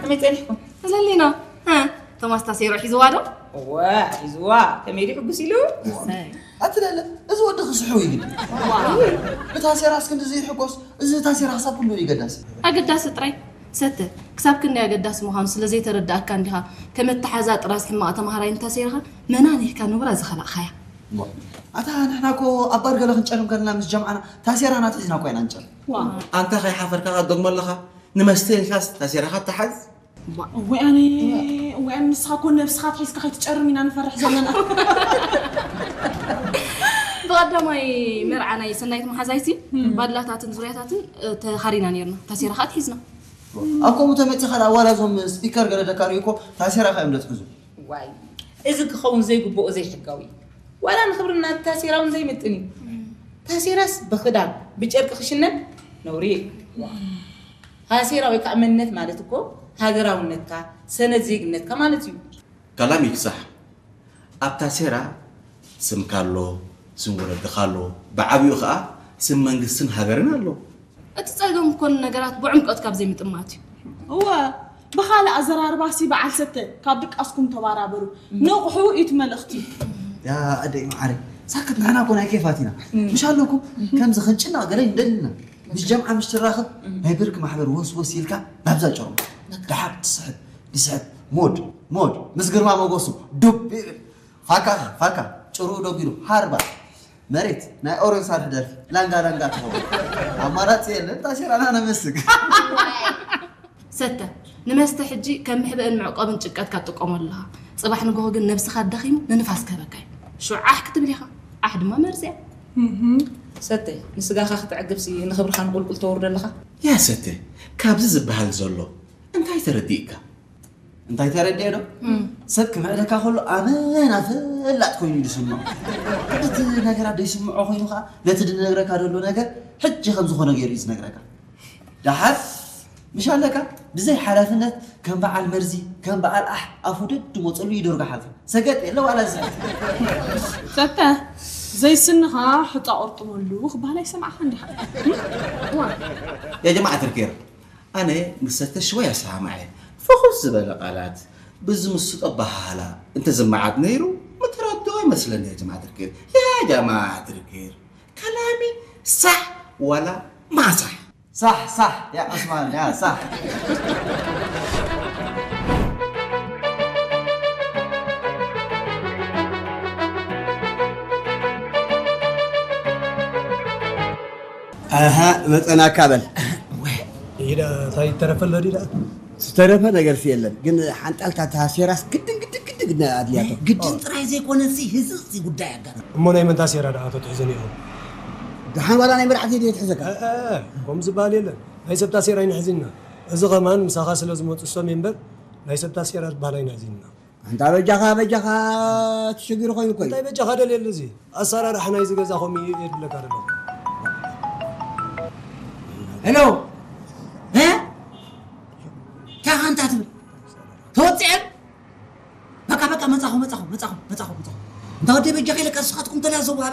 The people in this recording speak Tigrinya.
ከመይ ጸኒሕኩም? ዘሊና፣ ቶማስ ታሴሮ ሒዝዋ ዶ? እወ፣ ሒዝዋ። ከመይ ድዩ ሕጉስ ኢሉ? ኣትለለ፣ እዚ ወዲ ክስሕው እዩ ግዲ። ብታሴራስ ክንዲ ዘይሕጎስ፣ እዚ ታሴራ ክሳብ ክንዲ እዩ ገዳሲ። ኣገዳሲ ጥራይ ሰተ፣ ክሳብ ክንደይ ኣገዳሲ ምዃኑ ስለ ዘይተረዳእካ እንዲኻ፣ ከም ኣተሓዛ ጥራዝ ሕማቕ ተማሃራይ ንታሴራኻ መናን ኢልካ ንቡራ ዝኸላእኻያ። ኣታ ንሕና እኮ ኣብ ባር ገለ ክንጨርም ከለና ምስ ጀምዓና ታሴራና ትሒዝና እኮ ኢና ንጨርም። ኣንታ ከይሓፈርካ ክትደግሞ ኣለኻ? ንመስተ ኢልካስ ታሴራኻ ትሓዝ? እዋይ ኣነ፣ እዋይ ኣነ፣ ንስኻ እኮ ነብስኻ ትሒዝካ ከይትጨርም ኢና ንፈርሕ ዘለና። ብቐዳማይ መርዓ ናይ ሰናይት መሓዛይሲ ባድላታትን ዙርያታትን ተኻሪና ነርና። ታሴራ ኸኣ ትሒዝና። ኣብ ከምኡ ተመጺኻ ደኣ ዋላ እዞም ስፒከር ገለ ደካርዩ እኮ ታሴራ ኸኣ እዮም ደትሕዙ። ዋይ፣ እዚ ክኸውን ዘይግብኦ ዘይሕጋዊ እዩ። ዋላ ንኽብርና ታሴራ እውን ዘይምጥን እዩ። ታሴራስ ብኽዳን ብጨርቂ ክሽነን ነውሪ እዩ። ታሴራ ወይ ከዓ መንነት ማለት እኮ ሃገራውነትካ፣ ሰነድ ዜግነትካ ማለት እዩ። ከላም ይክሳሕ። ኣብ ታሴራ ስምካ ኣሎ፣ ስም ወለድኻ ኣሎ፣ ብዓብዩ ከዓ ስም መንግስትን ሃገርን ኣሎ። እቲ ጸገም እኮ ንነገራት ብዕምቆት ካብ ዘይምጥማት እዩ። እወ፣ ብኻልእ ኣዘራርባሲ በዓል ሰተ፣ ካብ ድቃስኩም ተባራበሩ። ንቕሑ እዩ እቲ መልእኽቲ። ያ ኣደይ መዓረይ፣ ሳክት ንሕና እኮ ናይ ኬፋት ኢና። ምሽ ኣለኩም ከምዚ ክንጭነቕ ገለ ይደልና። ምስ ጀምዓ ምሽ ትራኸብ ናይ ብርክ ማሕበር ወስ ወስ ኢልካ ናብዛ ጨርሞ። ደሓር ትስሕብ፣ ትስሕብ፣ ሞድ፣ ሞድ፣ ምስ ግርማ ሞገሱ ዱብ ይብል። ፋካ፣ ፋካ፣ ጭሩ ደጊሩ፣ ሃርባ፣ መሬት፣ ናይ ኦሮን ሳርሕ ደርፊ፣ ላንጋ ላንጋ ትኸውን። ኣማራጺ የለን፣ ታሴራና ነመስግ። ሰተ፣ ንመስተ ሕጂ ከም መሕብእን መዕቆብን ጭንቀትካ ትጥቀመሉ ኣለኻ። ጽባሕ ንግሆ ግን ነብስኻ ኣዳኺሙ ንንፋስ ክህበካ እዩ። ሽዑ ዓሕ ክትብል ኢኻ። ዓሕ ድማ መርዚ እያ። ሰተ፣ ንስጋኻ ክተዕግብሲ ንኽብርኻ ንቁልቁል ተወርዶ ኣለኻ። ያ ሰተ፣ ካብዚ ዝበሃል ዘሎ እንታይ ተረዲእካ? እንታይ ተረዲኤ ዶ? ሰብ ክምዕደካ ከሎ ኣመና ፈላጥ ኮይኑ እዩ ዝስምዖ። እቲ ነገራት ዘይስምዖ ኮይኑ ከዓ ነቲ ዝነግረካ ዘሎ ነገር ሕጂ ከም ዝኾነ ገይሩ እዩ ዝነግረካ። ደሓር ምሽ ኣለካ ብዘይ ሓላፍነት ከም በዓል መርዚ፣ ከም በዓል ኣሕ ኣፉ ደድ መፀሉ ይደርጎ ሓልፉ። ሰገጥ የለ ዋላ ዝሕት። ሰተ ዘይስንኻ ሕፃ ቆርጥመሉ ክበሃል ኣይሰማዕኻን ዲኻ? ያ ጀማዓ ትርኬር፣ ኣነ ምስ ሰተ ሽወይ ኣሰማምዐ። ፍኹስ ዝበለ ቃላት ብዝምስጦ ኣበሃህላ እንተዝመዓድ ነይሩ ምተረድኦ ይመስለኒ። ያ ጀማዓ ትርኬር፣ ያ ጀማዓ ትርኬር፣ ከላሚ ሳሕ ዋላ ማሳሕ? ሳሕ ሳሕ ያ ዑስማን ያ ሳሕ። ኣሃ መጸናካ በል። ኢዳ እንታይ ተረፈ ኣሎ ዲዳ? ዝተረፈ ነገርሲ የለን፣ ግን ሓንጣልታ ታሴራስ ግድን ግድን ግድን ግድን ኣድልያቶ። ግድን ጥራይ ዘይኮነሲ ህዝብሲ ጉዳይ ኣጋር። እሞ ናይ መን ታሴራ ደኣ ተትሕዘኒ ኢኹም? ደሓን ዋላ ናይ መራሕቲ ድየ ትሕዘካ? እ፣ እ፣ እ፣ ከምኡ ዝበሃል የለን። ናይ ሰብ ታሴራ ኣይንሕዝን ኢና። እዚ ኸማን ምሳኻ ስለ ዝመጹ ሰም እምበር ናይ ሰብ ታሴራ ዝበሃል ኣይንሕዝን ኢና። ኣንታ በጃኻ በጃኻ ትሽግር ኮይኑ እኮ እዩ። እንታይ በጃኻ ደልየሉ እዚ ኣሰራርሓ ናይዚ ገዛ ከምኡ እዩ የድብለካ ደሎ። ሄሎ እ ታኻ እንታ ትብል ተወፅአን በቃ በቃ መፃኹ መፃኹ መፃኹ መፃኹ መፃኹ እንታ ወደ በጃኻ ኢለካ ንስኻትኩም ተላዘቡ